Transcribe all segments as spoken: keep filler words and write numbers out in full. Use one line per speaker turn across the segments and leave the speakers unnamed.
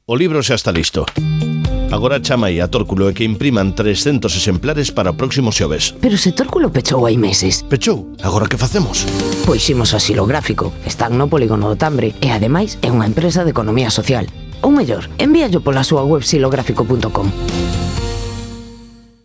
o libro xa está listo. Agora chama aí a Tórculo e que impriman trescentos exemplares para o próximo xoves.
Pero se Tórculo pechou hai meses.
Pechou? Agora que facemos?
Pois imos a Xilográfico. Están no Polígono do Tambre e ademais é unha empresa de economía social. Ou mellor, envíallo pola súa web xilográfico punto com.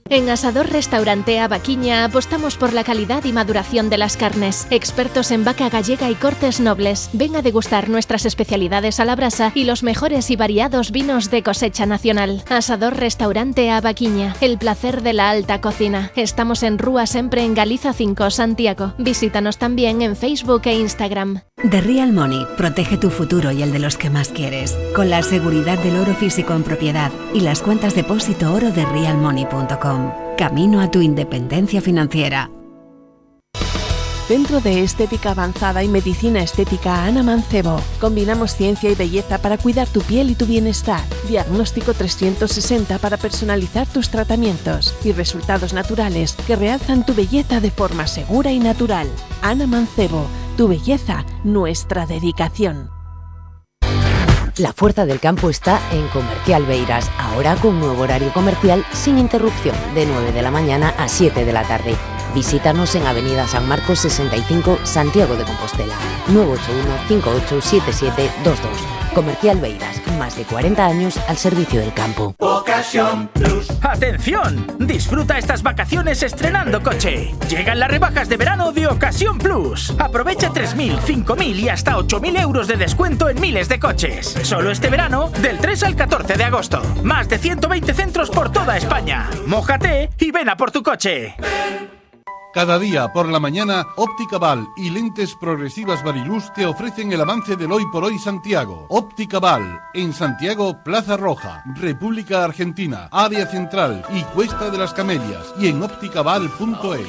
En Asador Restaurante A Vaquiña apostamos por la calidad y maduración de las carnes. Expertos en vaca gallega y cortes nobles. Ven a degustar nuestras especialidades a la brasa y los mejores y variados vinos de cosecha nacional. Asador Restaurante A Vaquiña. El placer de la alta cocina. Estamos en Rúa Sempre en Galiza cinco, Santiago. Visítanos también en Facebook e Instagram.
The Real Money protege tu futuro y el de los que más quieres, con la seguridad del oro físico en propiedad y las cuentas depósito oro de real money punto com. Camino a tu independencia financiera.
Centro de Estética Avanzada y Medicina Estética Ana Mancebo. Combinamos ciencia y belleza para cuidar tu piel y tu bienestar. Diagnóstico trescientos sesenta para personalizar tus tratamientos y resultados naturales que realzan tu belleza de forma segura y natural. Ana Mancebo, tu belleza, nuestra dedicación.
La fuerza del campo está en Comercial Beiras, ahora con nuevo horario comercial sin interrupción, de nueve de la mañana a siete de la tarde. Visítanos en Avenida San Marcos sesenta y cinco, Santiago de Compostela, nueve ocho uno, cinco ocho siete siete dos dos. Comercial Beiras, más de cuarenta años al servicio del campo.
Ocasión Plus. ¡Atención! Disfruta estas vacaciones estrenando coche. Llegan las rebajas de verano de Ocasión Plus. Aprovecha tres mil, cinco mil y hasta ocho mil euros de descuento en miles de coches. Solo este verano, del tres al catorce de agosto. Más de ciento veinte centros por toda España. Mójate y ven a por tu coche.
Cada día por la mañana, Óptica Val y Lentes Progresivas Variluz te ofrecen el avance del Hoy por Hoy Santiago. Óptica Val, en Santiago, Plaza Roja, República Argentina, Área Central y Cuesta de las Camelias, y en ópticaval punto es.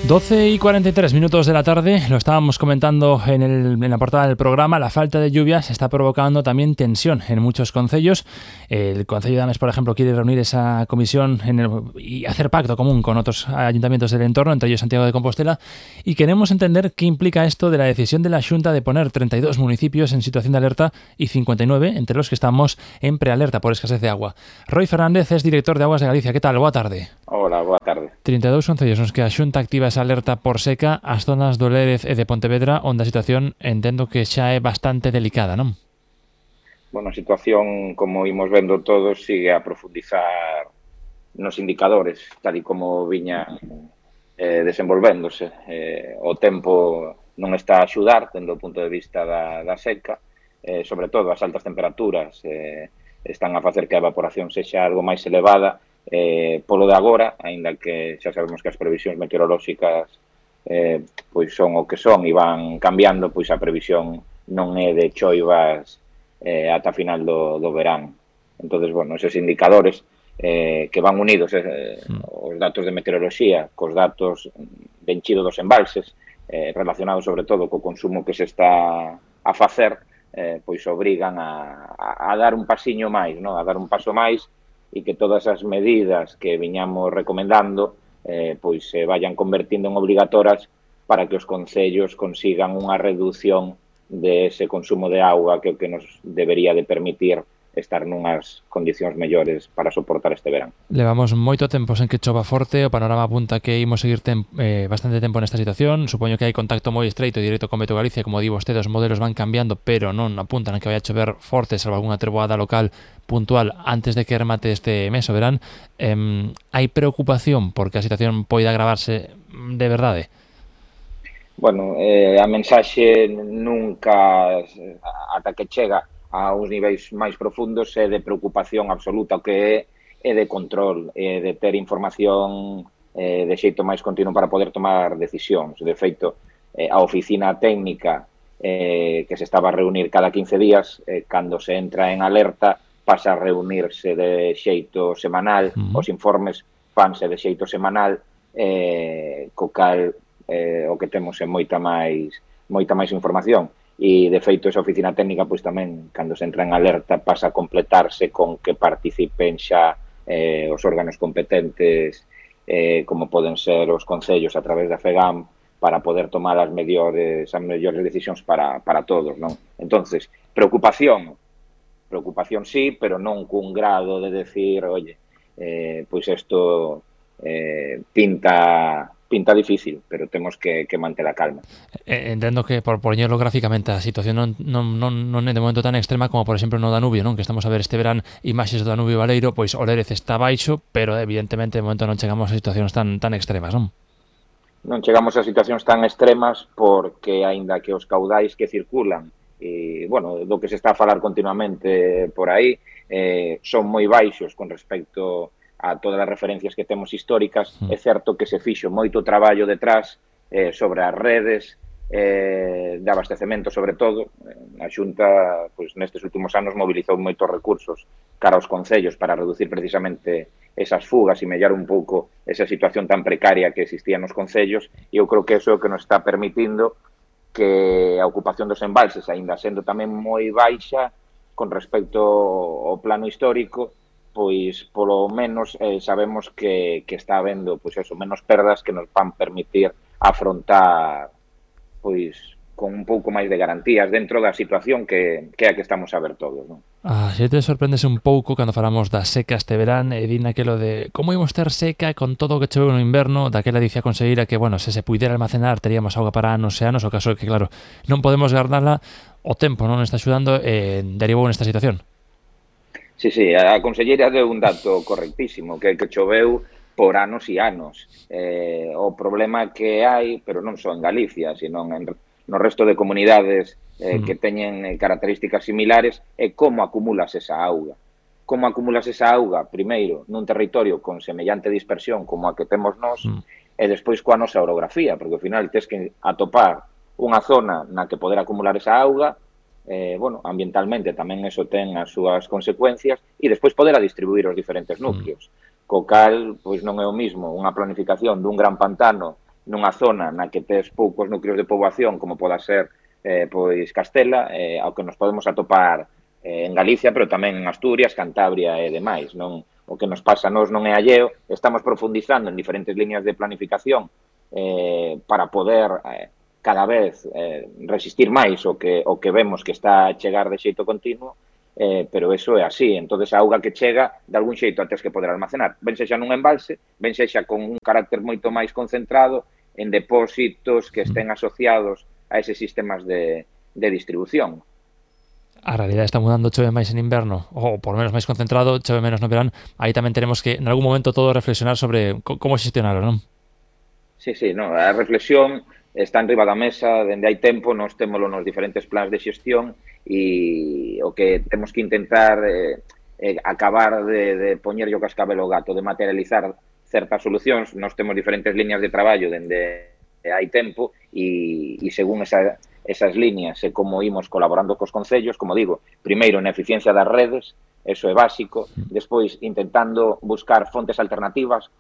doce y cuarenta y tres minutos de la tarde, lo estábamos comentando en, el, en la portada del programa, la falta de lluvias está provocando también tensión en muchos concellos. El Concello de Ames, por ejemplo, quiere reunir esa comisión en el, y hacer pacto común con otros ayuntamientos del entorno, entre ellos Santiago de Compostela, y queremos entender qué implica esto de la decisión de la Xunta de poner treinta y dos municipios en situación de alerta y cincuenta y nueve entre los que estamos en prealerta por escasez de agua. Roy Fernández es director de Aguas de Galicia. ¿Qué tal? Boa tarde.
Hola, boa tarde.
treinta e dous concellos nos que a Xunta activa esa alerta por seca as zonas do Lérez e de Pontevedra, onde a situación entendo que xa é bastante delicada, non?
Bueno, a situación, como imos vendo todos, sigue a profundizar nos indicadores, tal e como viña eh, desenvolvéndose. Eh, o tempo non está a axudar, tendo o punto de vista da, da seca, eh, sobre todo as altas temperaturas eh, están a facer que a evaporación sexa algo máis elevada. Eh, polo de agora, aínda que xa sabemos que as previsións meteorolóxicas eh, pois son o que son e van cambiando, pois a previsión non é de choivas eh, ata final do, do verán. Entonces, bueno, eses indicadores eh, que van unidos eh, os datos de meteoroloxía cos datos de enchido dos embalses eh, relacionados sobre todo co consumo que se está a facer, eh, pois obrigan a, a, a dar un pasiño máis, non? A dar un paso máis e que todas as medidas que viñamos recomendando eh, pois se vayan convertindo en obligatorias para que os concellos consigan unha reducción de ese consumo de auga que o que nos debería de permitir estar nunhas condicións mellores para soportar este verán.
Levamos moito tempo sen que chova forte, o panorama apunta que imos seguir tem, eh, bastante tempo nesta situación. Supoño que hai contacto moi estreito e directo con Meteo Galicia, como di vostede, os modelos van cambiando, pero non apuntan a que vai a chover forte, salvo algunha treboada local puntual antes de que remate este mes o verán. Eh, hai preocupación porque a situación poida agravarse de verdade?
Bueno, eh, a mensaxe nunca, ata que chega a uns niveis máis profundos, é de preocupación absoluta, o que é, é de control, é de ter información eh, de xeito máis continuo para poder tomar decisións. De feito, eh, a oficina técnica eh, que se estaba a reunir cada quince días, eh, cando se entra en alerta, pasa a reunirse de xeito semanal, uh-huh. Os informes fanse de xeito semanal, eh, co cal eh, o que temos é moita máis, moita máis información. E, de feito, esa oficina técnica, pois tamén, cando se entra en alerta, pasa a completarse con que participen xa eh, os órganos competentes, eh, como poden ser os concellos a través da FEGAM, para poder tomar as mellores, as mellores decisións para, para todos, non? Entonces, preocupación, preocupación sí, pero non cun grado de decir, oye, eh, pois isto eh, pinta pinta difícil, pero temos que, que manter a calma.
Eh, entendo que, por poñerlo gráficamente, a situación non, non, non, non é de momento tan extrema como, por exemplo, no Danubio, non? Que estamos a ver este verán imaxes do Danubio Baleiro, pois o Lérez está baixo, pero evidentemente de momento non chegamos a situacións tan, tan extremas, non?
Non chegamos a situacións tan extremas porque, aínda que os caudais que circulan, e, bueno, do que se está a falar continuamente por aí, eh, son moi baixos con respecto a todas as referencias que temos históricas. É certo que se fixo moito traballo detrás eh, sobre as redes eh, de abastecemento, sobre todo. A Xunta, pois, nestes últimos anos mobilizou moitos recursos cara aos concellos para reducir precisamente esas fugas e mellar un pouco esa situación tan precaria que existía nos concellos, e eu creo que eso é o que nos está permitindo que a ocupación dos embalses, aínda sendo tamén moi baixa con respecto ao plano histórico, pois polo menos eh, sabemos que, que está habendo pois eso, menos perdas que nos van permitir afrontar pois con un pouco máis de garantías dentro da situación que, que é a que estamos a ver todos, non?
Ah, se te sorprendes un pouco cando falamos da seca este verán, e din aquelo de como imos ter seca con todo o que choveu no inverno, daquela dicía a conselleira que, bueno, se se puidera almacenar teríamos auga para anos e anos, o caso é que, claro, non podemos guardala, o tempo non está axudando e derivou nesta situación.
Sí, sí, a conselleira deu un dato correctísimo, que, que choveu por anos e anos. Eh, o problema que hai, pero non só en Galicia, sino en no resto de comunidades eh, que teñen eh, características similares, é como acumulas esa auga. Como acumulas esa auga, primeiro, nun territorio con semellante dispersión como a que temos nós, mm. e despois coa nosa orografía, porque ao final tes que atopar unha zona na que poder acumular esa auga, eh, bueno, ambientalmente tamén eso ten as súas consecuencias, e despois poder a distribuir os diferentes núcleos. Mm. Co cal, pois non é o mismo unha planificación dun gran pantano nunha zona na que tes poucos núcleos de poboación, como poda ser eh, pois Castela, eh, ao que nos podemos atopar eh, en Galicia, pero tamén en Asturias, Cantabria e demais. Non, o que nos pasa a nós non é alleo, estamos profundizando en diferentes líneas de planificación eh, para poder eh, cada vez eh, resistir máis o que, o que vemos que está a chegar de xeito continuo, eh, pero eso é así. Entón, a auga que chega, de algún xeito a tes que poder almacenar. Ben sexa nun embalse, ben sexa con un carácter moito máis concentrado en depósitos que estén asociados a eses sistemas de, de distribución.
A realidade está mudando, chove máis en inverno, ou por menos máis concentrado, chove menos no verán. Aí tamén tenemos que, en algún momento, todo reflexionar sobre como xestionarlo, non?
Sí, sí, no, a reflexión está en riba da mesa, dende hai tempo, nós témolo nos diferentes plans de xestión, e o que temos que intentar eh, eh, acabar de, de poñerlle o cascabel ao gato, de materializar certas solucións. Nós temos diferentes liñas de traballo dende hai tempo e, e según esa, esas liñas e como imos colaborando cos concellos, como digo, primeiro na eficiencia das redes, eso é básico, despois intentando buscar fontes alternativas,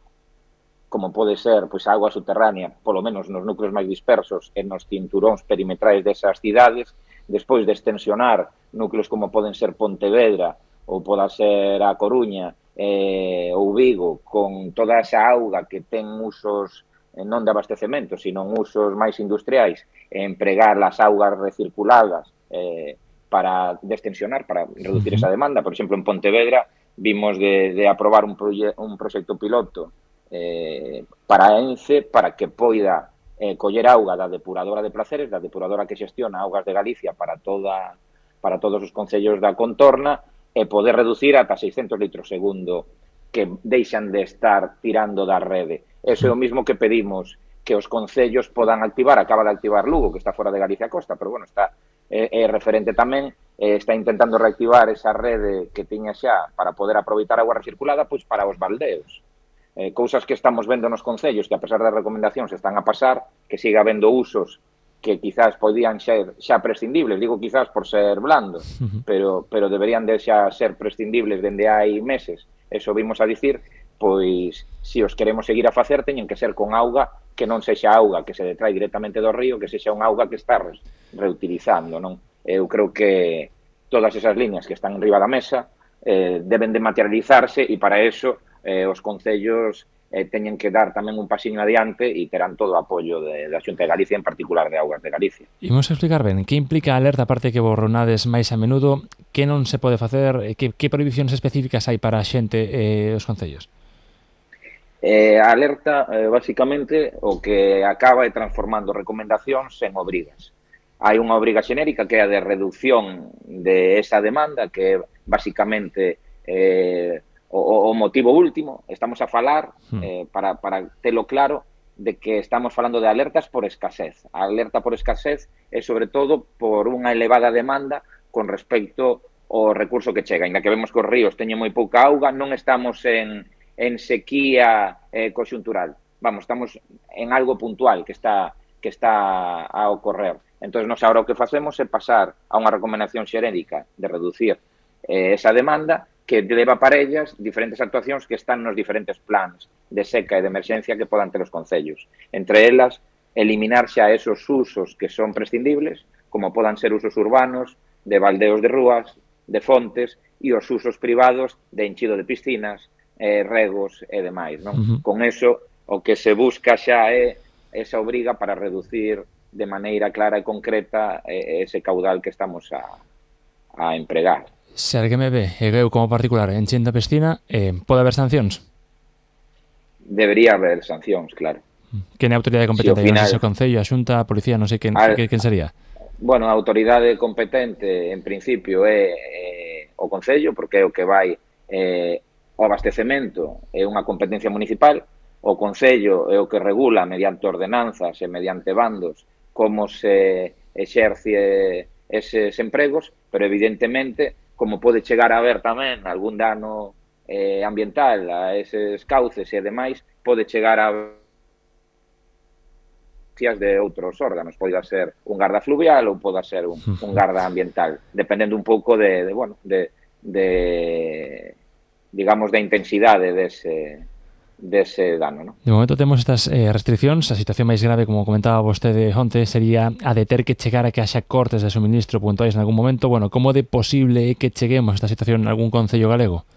como pode ser pois, a auga subterránea, polo menos nos núcleos máis dispersos e nos cinturóns perimetrais desas cidades, despois de extensionar núcleos como poden ser Pontevedra ou poda ser a Coruña, eh, ou Vigo, con toda esa auga que ten usos eh, non de abastecemento, sino usos máis industriais, e empregar as augas recirculadas eh, para destensionar, para reducir esa demanda. Por exemplo, en Pontevedra vimos de, de aprobar un, proye un proxecto piloto eh, para Ence, para que poida eh, coller auga da depuradora de Placeres, da depuradora que xestiona augas de Galicia para, toda, para todos os concellos da contorna, e poder reducir ata seiscentos litros segundo que deixan de estar tirando da rede. Eso é o mismo que pedimos que os concellos podan activar. Acaba de activar Lugo, que está fora de Galicia Costa, pero bueno, está é, é referente tamén, eh, está intentando reactivar esa rede que tiña xa para poder aproveitar a auga recirculada pois para os baldeos. Eh, cousas que estamos vendo nos concellos, que a pesar das recomendacións están a pasar, que siga habendo usos que quizás podían ser xa prescindibles, digo quizás por ser blando, uh-huh. pero, pero deberían de xa ser prescindibles dende hai meses, eso vimos a dicir, pois se os queremos seguir a facer teñen que ser con auga que non sexa auga que se detrae directamente do río, que sexa unha auga que está re reutilizando, non? Eu creo que todas esas liñas que están enriba da mesa eh, deben de materializarse, e para eso eh, os concellos eh, teñen que dar tamén un pasiño adiante e terán todo o apoio de, da Xunta de Galicia, en particular de Augas de Galicia.
Imos explicar ben, que implica a alerta, aparte que borronades máis a menudo, que non se pode facer, que, que prohibicións específicas hai para a xente e eh, os concellos?
Eh, a alerta, eh, basicamente, o que acaba é transformando recomendacións en obrigas. Hai unha obriga xenérica que é a de reducción de esa demanda, que é basicamente eh, o, o motivo último. Estamos a falar, eh, para, para telo claro, de que estamos falando de alertas por escasez. A alerta por escasez é sobre todo por unha elevada demanda con respecto ao recurso que chega. Ainda que vemos que os ríos teñen moi pouca auga, non estamos en, en sequía eh, conxuntural. Vamos, estamos en algo puntual que está, que está a ocorrer. Entón, nos agora o que facemos é pasar a unha recomendación xerédica de reducir eh, esa demanda que leva para ellas diferentes actuacións que están nos diferentes plans de seca e de emerxencia que podan ter os concellos. Entre elas, eliminar xa esos usos que son prescindibles, como podan ser usos urbanos, de baldeos de rúas, de fontes, e os usos privados de enchido de piscinas, eh, regos e demais. Non? Uh-huh. Con eso, o que se busca xa é esa obriga para reducir de maneira clara e concreta ese caudal que estamos a, a empregar.
Se alguén me ve, e eu como particular, enchendo a piscina, eh, pode haber sancións?
Debería haber sancións, claro.
Quen é a autoridade competente?
Si, final,
non sei se o Concello, a Xunta, a Policía, non sei quen, a, quen sería.
Bueno, a autoridade competente, en principio, é eh, o Concello, porque é o que vai eh, o abastecemento, é unha competencia municipal. O Concello é o que regula mediante ordenanzas e mediante bandos como se exerce eses empregos, pero evidentemente, como pode chegar a haber tamén algún dano eh, ambiental a eses cauces e demais, pode chegar a de outros órganos, pode ser un garda fluvial ou pode ser un, un garda ambiental, dependendo un pouco de, de bueno, de, de digamos, da intensidade dese dese dano, ¿no?
De momento temos estas eh, restriccións. A situación máis grave, como comentaba vostede onte, sería a de ter que chegar a que haxa cortes de suministro puntuais en algún momento. Bueno, como de posible é que cheguemos a esta situación en algún concello galego?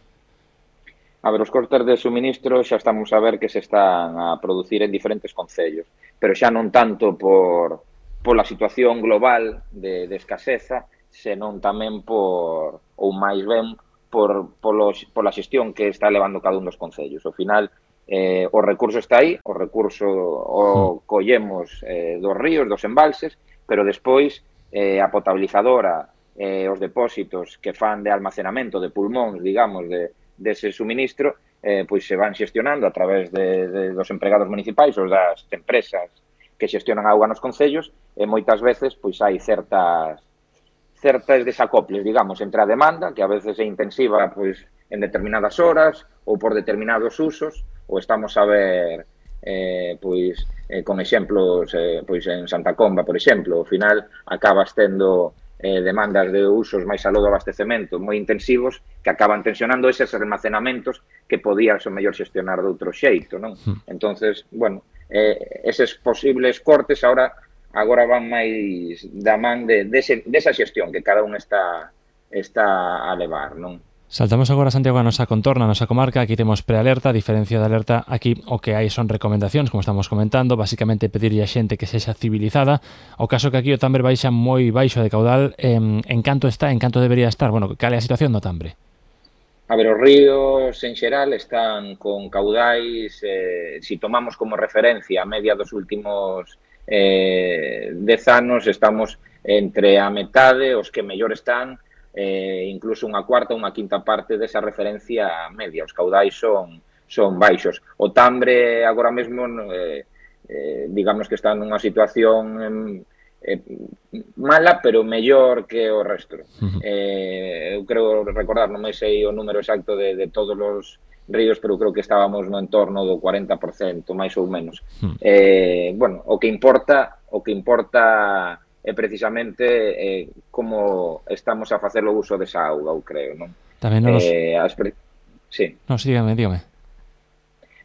A ver, os cortes de suministro xa estamos a ver que se están a producir en diferentes concellos, pero xa non tanto por pola situación global de, de escaseza, senón tamén por, ou máis ben, por, polos, pola xestión que está levando cada un dos concellos. Ao final, Eh, o recurso está aí, o recurso o collemos eh, dos ríos, dos embalses, pero despois eh, a potabilizadora, eh, os depósitos que fan de almacenamento de pulmóns, digamos, de, de ese suministro, eh, pois se van xestionando a través de, de, dos empregados municipais ou das empresas que xestionan a auga nos concellos, e moitas veces pois hai certas certas desacoples, digamos, entre a demanda, que a veces é intensiva pois en determinadas horas ou por determinados usos, ou estamos a ver eh, pois eh, con exemplos eh, pois en Santa Comba, por exemplo, ao final acabas tendo eh, demandas de usos máis aló do abastecemento moi intensivos que acaban tensionando eses almacenamentos que podías o mellor xestionar de outro xeito, non? Mm. Entonces, bueno, eh, eses posibles cortes agora agora van máis da man de, de ese, desa xestión que cada un está está a levar, non?
Saltamos agora, Santiago, a nosa contorna, a nosa comarca. Aquí temos prealerta, a diferencia da alerta, aquí o que hai son recomendacións, como estamos comentando, basicamente pedirlle a xente que sexa civilizada. O caso que aquí o Tambre baixa moi baixo de caudal, eh, en canto está, en canto debería estar? Bueno, cal é a situación do Tambre?
A ver, os ríos en xeral están con caudais, eh, si tomamos como referencia a media dos últimos eh, dez anos, estamos entre a metade, os que mellor están, eh, incluso unha cuarta ou unha quinta parte desa referencia media. Os caudais son, son baixos. O Tambre agora mesmo, eh, eh, digamos que está nunha situación eh, mala, pero mellor que o resto. Uh-huh. eh, eu creo recordar, non me sei o número exacto de, de todos os ríos, pero creo que estábamos no entorno do cuarenta por cento, máis ou menos. Uh-huh. Eh, bueno, o que importa, o que importa é precisamente eh, como estamos a facer o uso desa auga, eu creo, non?
Tamén nos...
Eh, as pre... Sí.
Non, sí, dígame, dígame.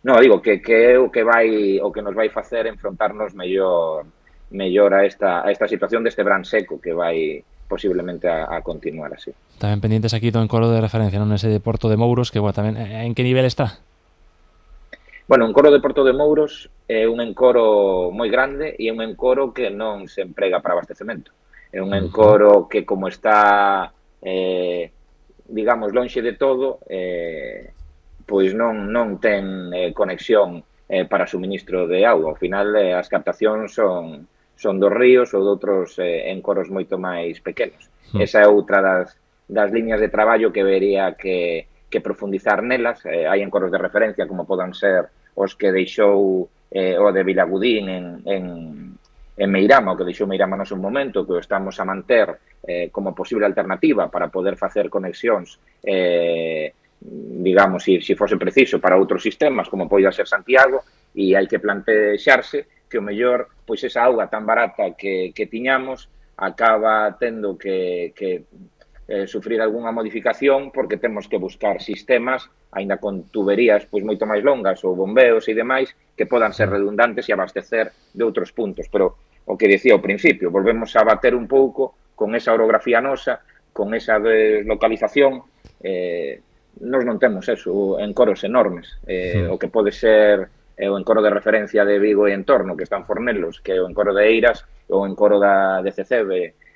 No, digo que, que é o que vai o que nos vai facer enfrontarnos mellor mellor a esta a esta situación deste verán seco que vai posiblemente a, a continuar así.
Tamén pendientes aquí do encoro de referencia, non ese de Porto de Mouros, que bueno, tamén en que nivel está?
Bueno, o encoro de Porto de Mouros é un encoro moi grande e é un encoro que non se emprega para abastecemento. É un encoro que, como está, eh, digamos, lonxe de todo, eh, pois non, non ten eh, conexión eh, para suministro de auga. Ao final, eh, as captacións son, son dos ríos ou de outros eh, encoros moito máis pequenos. Mm. Esa é outra das, das liñas de traballo que vería que, que profundizar nelas. Eh, hai encoros de referencia, como podan ser os que deixou eh, o de Vilagudín en, en, en Meirama, o que deixou Meirama no seu momento, que o estamos a manter eh, como posible alternativa para poder facer conexións, eh, digamos, se si, si fose preciso, para outros sistemas, como poida ser Santiago, e hai que plantexarse que o mellor, pois esa auga tan barata que, que tiñamos acaba tendo que... que Eh, sufrir algunha modificación porque temos que buscar sistemas, aínda con tuberías pois moito máis longas ou bombeos e demais, que podan ser redundantes e abastecer de outros puntos. Pero o que dicía ao principio, volvemos a bater un pouco con esa orografía nosa, con esa deslocalización. Eh, nos non temos eso, encoros enormes. Eh, sí. O que pode ser eh, o encoro de referencia de Vigo e entorno, que están Fornelos, que é o encoro de Eiras, ou o encoro da de C C B,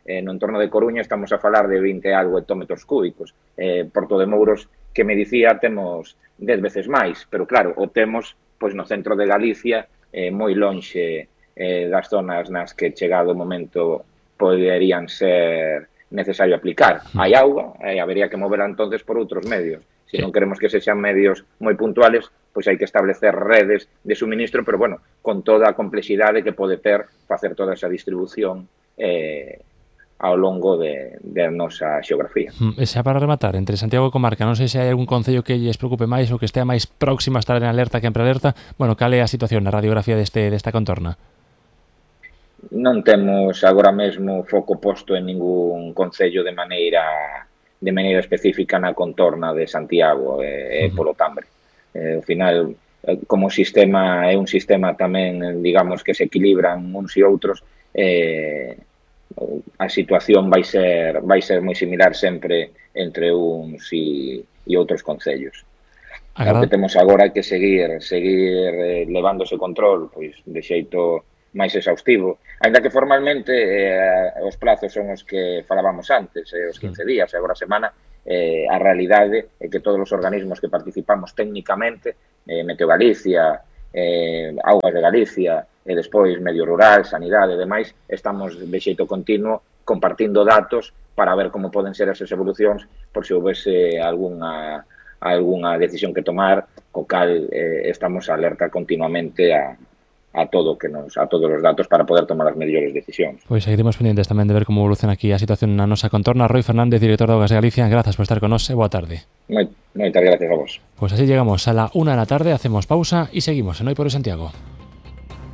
Eh, no entorno de Coruña estamos a falar de vinte e algo hectómetros cúbicos. Eh, Porto de Mouros, que me dicía, temos dez veces máis, pero claro, o temos pois no centro de Galicia, eh, moi lonxe eh, das zonas nas que chegado o momento poderían ser necesario aplicar. Hai auga, e habería que moverla entonces por outros medios. Se non queremos que sexan medios moi puntuales, pois hai que establecer redes de suministro, pero bueno, con toda a complexidade que pode ter facer toda esa distribución eh, ao longo de, de nosa xeografía.
E xa para rematar, entre Santiago e comarca, non sei se hai algún concello que lles preocupe máis ou que estea máis próximo a estar en alerta que en prealerta. Bueno, cal é a situación na radiografía deste, desta contorna?
Non temos agora mesmo foco posto en ningún concello de maneira de maneira específica na contorna de Santiago e, uh-huh. polo Tambre. Eh, ao final, como sistema, é un sistema tamén, digamos, que se equilibran uns e outros, eh, a situación vai ser vai ser moi similar sempre entre uns e, e outros concellos. O que temos agora é que seguir seguir eh, levándose control pois de xeito máis exhaustivo, aínda que formalmente eh, os plazos son os que falábamos antes, eh, os quince días, e agora a semana, eh, a realidade é que todos os organismos que participamos técnicamente, eh, Meteo Galicia, eh, Augas de Galicia, e despois medio rural, sanidade e demais, estamos de xeito continuo compartindo datos para ver como poden ser esas evolucións por se houvese algunha, algunha decisión que tomar, co cal eh, estamos alerta continuamente a, a todo que nos a todos os datos para poder tomar as mellores decisións.
Pois seguiremos pendientes tamén de ver como evoluciona aquí a situación na nosa contorna. Roy Fernández, director de Augas de Galicia, grazas por estar con nos e boa tarde.
Moi, moitas gracias a vos.
Pues así llegamos a la una de la tarde, hacemos pausa y seguimos en Hoy por Hoy Santiago.